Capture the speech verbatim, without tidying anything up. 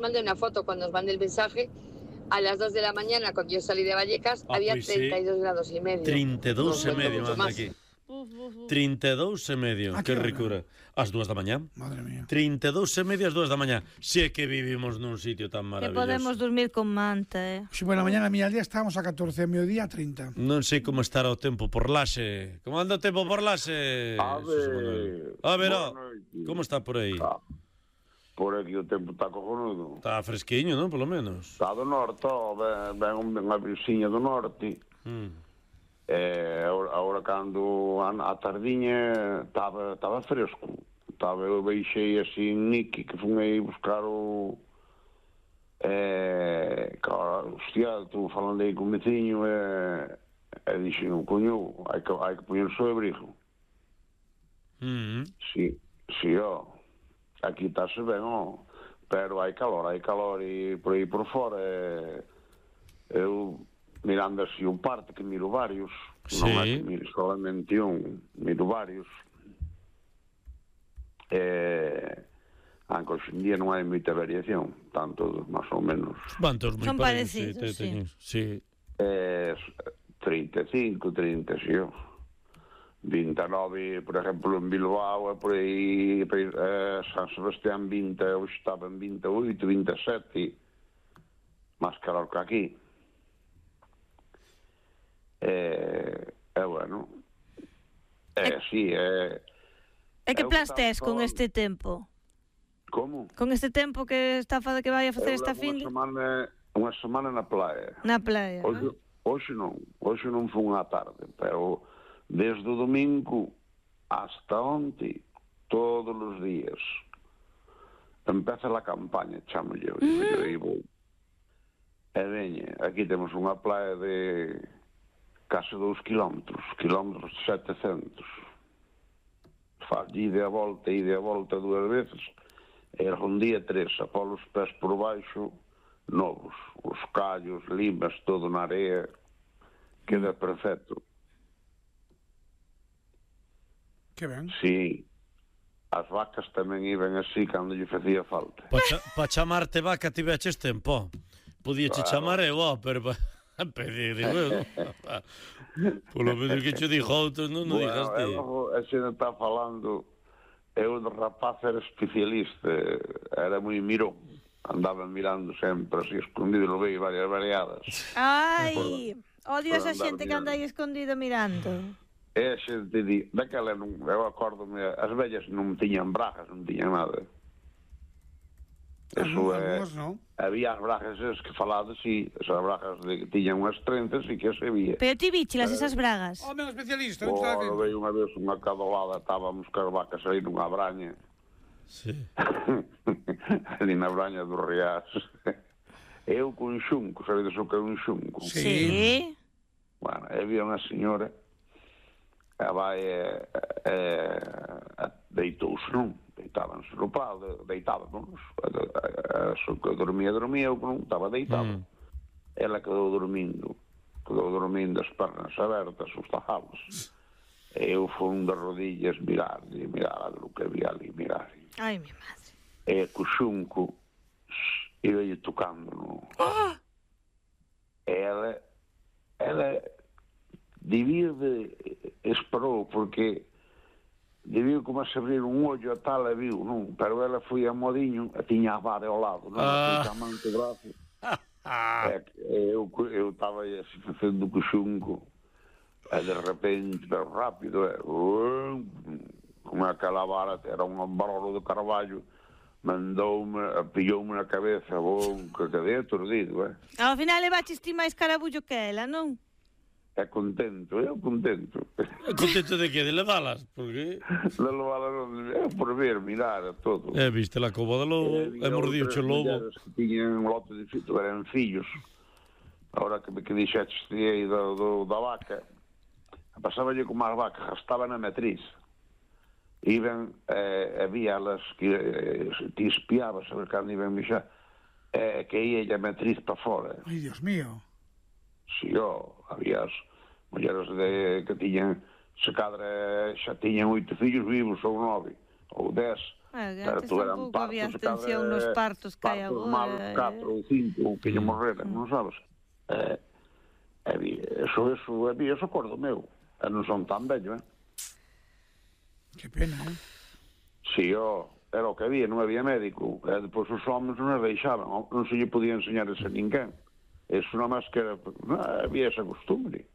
mandé una foto cuando os mandé el mensaje. A las dos de la mañana, cuando yo salí de Vallecas, ah, había pois treinta y dos sí. grados y medio. trinta e dous e medio, manda aquí. trinta e dous e medio, que ricura. As dúas da mañá. Madre mía. trinta e dous e medio as dúas da mañá. Si é que vivimos nun sitio tan Que maravilloso. podemos dormir con manta, eh. Si pola mañana a miña aldea estábamos a catorce, a mediodía a trinta. Non sei como estará o tempo por Laxe. Como anda o tempo por Laxe? A ver... A ver, oh, como está por aí? Ah, por aquí o tempo está cojonudo. Está fresquiño, non? Polo menos. Está do norte, oh, ven, ven unha brisiña do norte. Mm. Eh, agora, agora cando a, a tardiña estaba estaba fresco. Estaba, eu veixei así en Niki, que fun aí buscar o... Eh, claro, hostia, estou falando aí con o veciño e, e dixen, coño, hai que, hai que poñerse o abrigo. Mm. Sí, sí, ó. Aquí estáse ben, ó. Pero hai calor, hai calor e por aí por fora. E, eu, mirando así un parte, que miro varios. Sí. Non é que miro solamente un, miro varios. E... Aunque hoxe en día non hai moita variación, tanto máis ou menos. Van todos moi Son parecidos, parecidos, sí. sí. sí. Eh, trinta e cinco, trinta, sí, ó. vinte e nove, por exemplo, en Bilbao, e por aí, eh, San Sebastián vinte, hoxe estaba en vinte e oito, vinte e sete, máis calor que aquí. Eh, é bueno. Eh, sí, é... E que plans tes con este tempo? Como? Con este tempo que está a fazer que vai a facer Eu esta levo fin unha semana, unha semana na playa. na playa, Hoxe, non? hoxe non, hoxe non fun á tarde, pero desde o domingo hasta onte, todos os días, empeza a campaña, chamo yo, uh-huh. e vou. E veña, aquí temos unha playa de case dous kilómetros, kilómetros setecentos. Faz ida a volta, ida a volta dúas veces, e un día tres, a pôr os pés por baixo, novos, os callos, limas, todo na area, queda perfecto. Que ben. Sí, as vacas tamén iban así cando lle facía falta. Pa, cha, pa chamarte vaca tiveches tempo. Podía che Claro. chamar eu, oh, pero pa, pedir, digo, polo menos que che dixo outros, non, non Bueno, digas e ti. logo, a xente está falando, eu de rapaz era especialista, era moi mirón, andaba mirando sempre así escondido, lo veio varias variadas. Ai, odio por esa andar xente que anda aí escondido mirando. E a xente di, daquela non, eu acórdome, as vellas non tiñan bragas, non tiñan nada. Eso é, Algúns non. había as bragas esas que falades, e esas bragas de, que tiñan unhas trenzas e que se vía. Pero ti bichelas esas bragas? Home, un especialista. Oh, non está vendo. veio unha vez unha cadolada, estábamos cas vacas aí nunha braña. Sí. Ali na braña do Riás. Eu con xunco, sabedes o que é un xunco? Sí. Sí. Bueno, había unha señora, a vai e, e, e deitouse, non? Deitábanse no pau, deitábamos. Só que dormía, dormía, eu non estaba deitado. Mm. Ela quedou dormindo, quedou dormindo as pernas abertas, os tajados. E eu fui de rodillas mirar, e mirar o que había ali, mirar. Ai, mi madre. E co xunco iba lle tocando, non? Oh! E ela, ela debía de, esperou, porque debía como a se abrir un ollo a tal e viu, non? Pero ela foi a modiño e tiña a vara ao lado, non? Ah. Ah. A man co brazo. E eu eu estaba aí así facendo co xunco, e de repente, pero rápido, e, um, como aquela vara, era un barolo de carballo, mandoume, pilloume na cabeza, bom, que quedei aturdido, eh? Ao final levaches ti máis carabullo que ela, non? É contento, eu contento. Contento de que? De levalas? Porque... De levalas, é por ver, mirar, a todo. Eh, viste la cova de lobo, e mordiuche o lobo. Que tiñan un lote de fillos, eran fillos. Ahora que me que dixetes aí do, do, da vaca, pasáballe como as vacas, estaba na matriz. Iban, eh, había las que eh, ti espiabas a ver cando iban mexar, eh, que ia a matriz para fora. Ai, Dios mío. Si, ó, había as mulleres de, que tiñan, se cadra xa tiñan oito fillos vivos, ou nove, ou dez, Ah, que Pero antes tú eran tampouco había partos atención cada- nos partos que hai partos agora. malos, eh. catro ou cinco que lle morreran, non sabes? Eh, e vi- eso, eso, e vi, eso acordo meu. E non son tan vello, eh? Qué pena, ¿eh? Si, ó, era o que había, non había médico. E depois os homens non as deixaban, non se lle podía enseñar eso a ninguén. Eso non máis que era, non, había esa costumbre.